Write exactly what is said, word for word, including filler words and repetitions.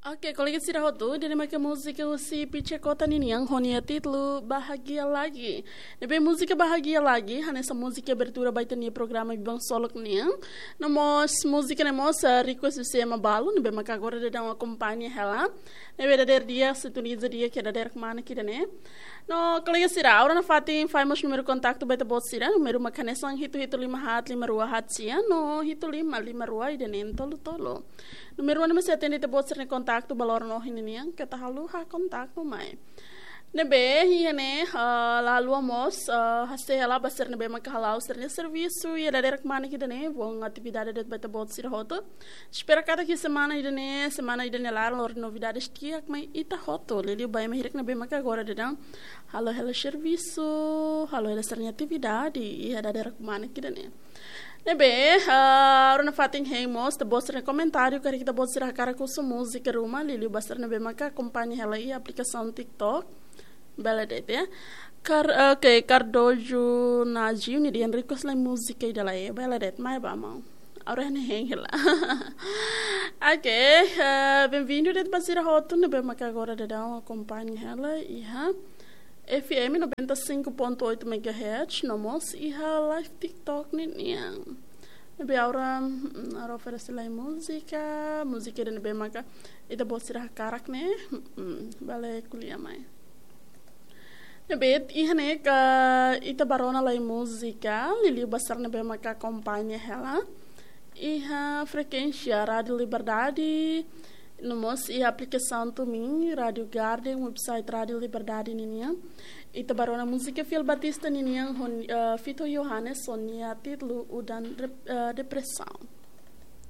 Oke, kolega sira hotu, ida-ne'e maka múzika husi Pichekota ninian ho nia títulu Bahagia Lagi. Ne'ebé múzika Bahagia Lagi hanesan múzika abertura ba ita-nia programa Biban Solok nian. No mós múzika ne'e mós, eh, request husi ema balu, ne'ebé maka agora daudaun akompaña hela. Ne'ebé dadeer di'ak, sintoniza di'ak iha dadeer kmanek ida-ne'e. No kolega sira, agora nafatin fó mós númeru kontaktu ba ita-boot sira, númeru maka hanesan hitu hitu lima haat lima rua haat sia, no hitu lima lima rua ida-ne'e tolu tolu. Númeru ne'e mós sei atende ita-boot sira-nia kontaktu ba loron ohin nian, keta haluha kontaktu mai. Ne'ebé, iha ne'e, ah, la haluha mós, ah, hasai hela ba sira ne'ebé maka hala'o sira-nia servisu, iha dadeer kmanek ida-ne'e, bom atividade de'it ba ita-boot sira hotu. Espera katak iha semana ida-ne'e, semana ida-ne'e laran lori novidades di'ak mai ita hotu. Liuliu ba ema hirak ne'ebé maka agora daudaun halo hela servisu, halo hela sira-nia atividade, iha dadeer kmanek ida-ne'e. Ne'ebé, ah, agora nafatin hein mós, ita-boot sira-nia komentáriu, karik ita-boot sira hakarak husu múzika ruma, liuliu ba sira ne'ebé maka akompaña hela iha aplikasaun TikTok. Bele de'it, ya. Kar-, oke, Cardojo Najiu nia dehan request lai múzika ida lai, bele de'it, mai ba maun. Agora ne'e hein hela. Oke, eh, bem-vindo de'it ba sira hotu ne'ebé maka agora daudaun akompaña hela iha F M noventa e cinco ponto oito megahertz, no mós iha live TikTok ninian. Ne'ebé agora, mm, agora oferese lai múzika, múzika ida ne'ebé maka ita-boot sira hakarak ne'e, mm, bele ko'alia mai. Ne'ebé iha ne'e ka ita bá rona lai múzika, liuliu ba sira ne'ebé maka akompaña hela iha frekuénsia Rádio Liberdade, no mós iha aplikasaun TuneIn, Rádio Garden, website Rádio Liberdade ninian. Ita bá rona múzika Fiel Batista ninian ho, eh, Vitor Johannes ho nia títulu Udan Rep-, eh, Depresaun.